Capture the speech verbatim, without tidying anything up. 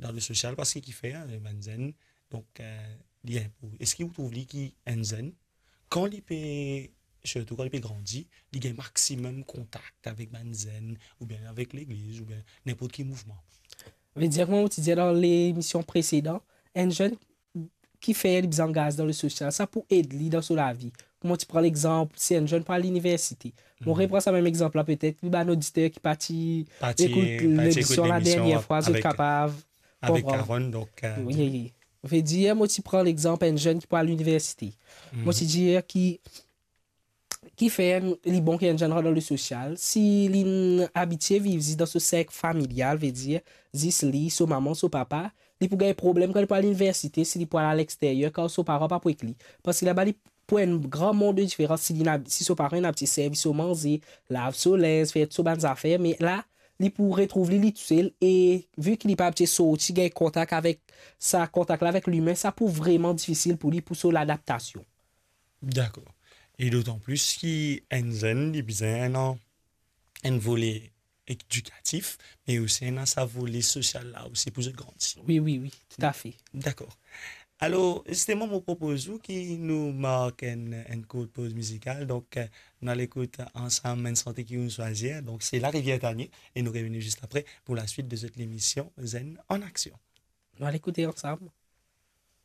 dan le sosial, parski kifer, eh, bann zenn, donk, eh, li inpo-, eski ou trouv li ki enn zenn, kan li pe, sirtou kan li pe grandi, li gagn maximum kontak avek bann zenn, oubien avek legliz, oubien ninport ki mouvman? Vedir, kouma mo ti dir dan lemision presedan, enn zenn kifer li bizin angaz dan le sosial, sa pou ed li dan so lavi. Kouma ti pran lexanp, si enn zenn pou al liniversite. Mo repran sa mem lexanp la, petet ki bann oditer ki pa ti ekout lemision la dernie fwa, zot kapav konpran. Wi, wi. Vedir, mo ti pran lexanp enn zenn ki pou al liniversite. Mo ti dir ki, kifer li bon ki enn zenn rant dan le sosial, si li abitie viv zis dan so serk familial, vedir, zis li, so mama, so papa, li pou gagn problem kan li pou al liniversite, si li pou al alexteryer, kan so paran pa pou ek li. Parski laba li pou enn gran mond de diferans, si li ena, si so paran ena abitie servi so manze, lav so linz, fer so bann zafer, me la, li pou retrouv li, li tousel, e vi ki li pa abitie sorti, gagn kontak avek sa, kontak la avek limin, sa pou vreman difisil pou li, pou so ladaptasion. Dakor. E dotan plis ki enn zenn, li bizin ena enn vole edikatif, me osi ena sa vole sosial la osi pou zot grandi. Wi, wi, wi, toutafe. Dakor. Alor, zisteman, mo propoz ou ki nou mark enn, enn kourt poz mizikal. Donk, eh, nou al ekout ansam enn sante ki ou'nn swazir. Donk, se La Rivière Tanie e nou revini zis apre pou laswit de zot lemision Zenn an Aksion. Nou al ekoute ansam.